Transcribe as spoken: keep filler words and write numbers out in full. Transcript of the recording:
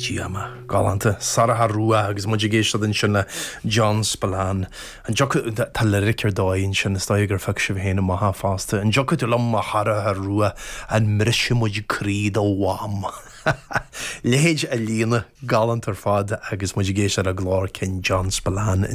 Tí ama galánta Sarah Rua agus muid ag éisteacht ansin le John Spillane. An tá lyric ar dóigh ansin is dóigh gur phioc sibh féin amach fosta. An dtiocfaidh tú liom a chara rua an mbrisfidh muid croí do mham. Leithéid a líne galánta ar fad agus muid ag éisteacht le glór cinn John Spillane.